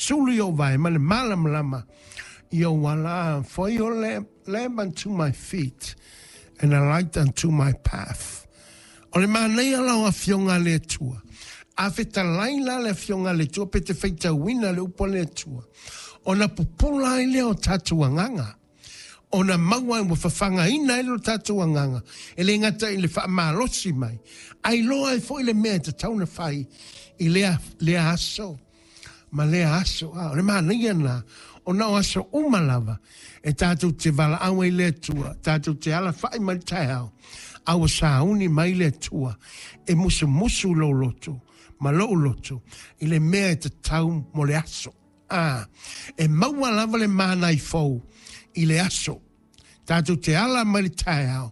Sulu i ou vae ma le malamalama i ou ala. For your lamp unto my feet and a light unto my path. O le manaia la o Afioga a le Atua. A fetalai la le Afioga a le Atua pe te faitauina le upu a le Atua, ona pupula ai lea o tatou agaga. Ona maua ai ua fafagaina ai lo tatou agaga, e le gata i le faamalosi mai, ae iloa ai foi le mea e tatau ona fai i lea, lea aso ma lea aso. A, o le manaia lena, ona o aso uma lava e tatou te valaau ai le Atua, tatou te alafai mai le taeao, a ua sauni mai le Atua e musumusu lou loto ma lou loto i le mea e tatau mo le aso. A, e maua lava le manai fou i le aso. Tatou te ala mai le taeao,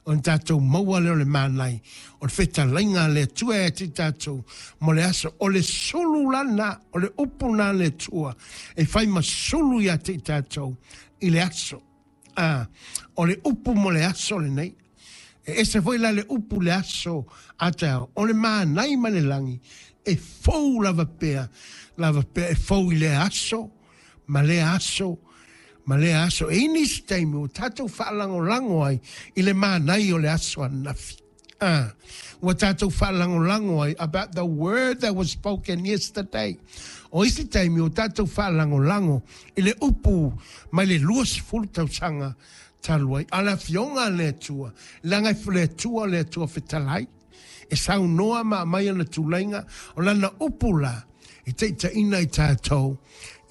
ona tatou maua lea o le manai, o le fetalaiga a le Atua ia te tatou mo le aso. O le sulu la lena, o le upu lena a le Atua e fai ma sulu ia te tatou i le aso. A, o le upu mo le aso lenei. E ese foi la le upu le aso a taeao, o le manai ma le lagi e fou lava pea, lava pea e fou i lea aso, ma lea aso, ma lea aso. E i ai nisi taimi ua tatou faalagolago ai i le manai o le aso ananafi. Ah, ua tatou faalagolago ai about the word that was spoken yesterday. O isi taimi ua tatou faalagolago i le upu mai le 20 tausaga talu ai. A o le Afioga a le Atua, leaga e le Atua o le Atua fetalai, e saunoa ma aumai ana tulaiga, o lana upu la e taitaiina i tatou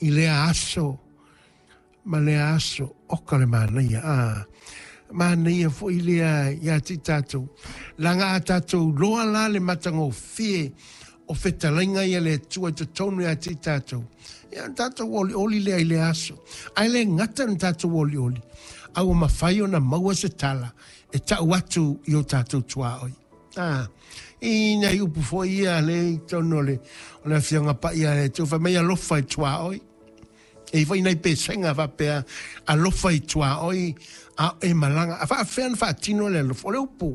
i lea aso ma lea aso. Oka le manaia, a manaia foi lea ia te tatou, leaga a tatou iloa la le matagofie o fetalaiga ia le Atua i totonu ia te tatou, ia ona tatou olioli lea i lea aso. Ae le gata ona tatou olioli, a ua mafai ona maua se tala e tau atu i o tatou tuaoi. A, i nai upu foi ia lea i totonu o le, o le Afioga Paia a le Atua, fai mai alofa i tuaoi. E i ai foi nai pesega faapea, alofa i tuaoi a o e malaga. A faafefea ona faatino le alofa? O le upu,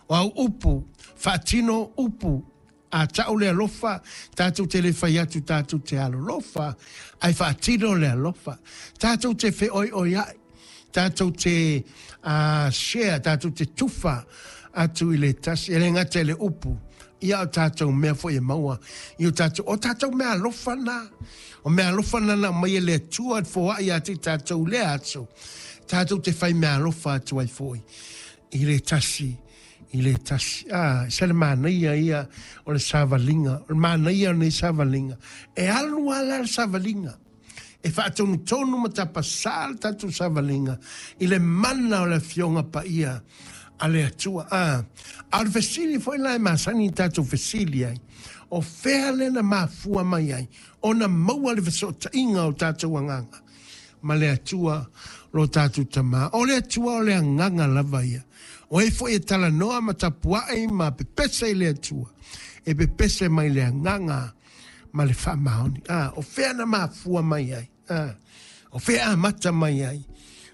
o au upu, faatino upu. A tau le alofa, tatou te le fai atu tatou te alolofa, ae faatino le alofa. Tatou te feoioiai, tatou te share, tatou te tufa atu i le tasi, e le gata i le upu, ia o tatou mea foi e maua i o tatou, o tatou mea alofa na, o mea alofa na na aumai e le Atua e foai ia te tatou i lea aso, tatou te fai mea alofa atu ai foi i le tasi i le tasi. A, se le manaia ia o le savaliga, o le manaia o lenei savaliga, e alu lava la le savaliga, e faatonutonu ma tapasā le tatou savaliga i le mana o le Afioga Paia a le Atua. A, a o le fesili foi la e masani ona tatou fesili ai, o fea lea na mafua mai ai ona maua le fesootaiga o tatou agaga ma le Atua lo tatou Tama? O le Atua o le agaga lava ia. O ai foi e talanoa ma tapuai ma pepese i le Atua, e pepese mai le agaga ma le faamaoni. A, o fea na mafua mai ai? A, o fea amata mai ai?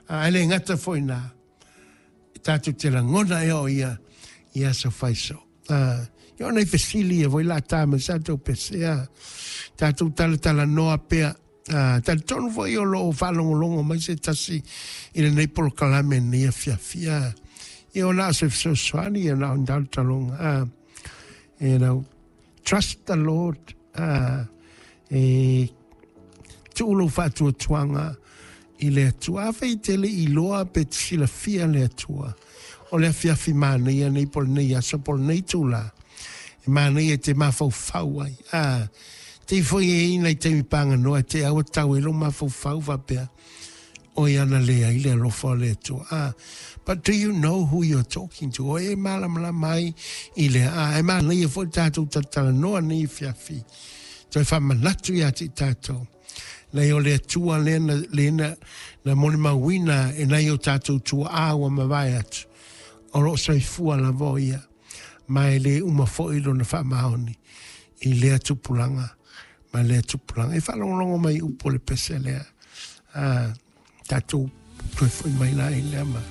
A, e le gata foi na, e tatou te lagona ea o ia i aso fai soo. A, ia o nai fesili ia foi la tā mai sa tou pese, a, tatou talatalanoa pea. A, talitonu foi o lo o faalogologo mai se tasi i lenei polokalame i lenei afiafi. A, ia o na o se fesoasoani, ia na o ni talotaloga. A, you know, trust the Lord. A, e tuu lou faatuatuaga i le Atua. Afai e te le i iloa pe te silafia le Atua, o le afiafi manaia nei po o lenei aso po o lenei itula, e manaia e te mafaufau ai. A, te foi e i nai taimi paganoa e te aua tau ai lou mafaufau faapea, oi ana leai le alofa o le Atua. A, but do you know who you're talking to? O e malamalama ai i lea. A, e manaia foi le tatou talatalanoa nei afiafi. Toe faamanatu ia te i tatou. Nei o le Atua lea na, lea na, na molimauina e nai o tatou tuaa ua mavae atu. O loo soifua lava o ia, ma e le uma foi lona faamaoni i lea tupulaga ma lea tupulaga. E faalogologo mai upu o le pese lea. A, tatou toe foi mai la i lea ma.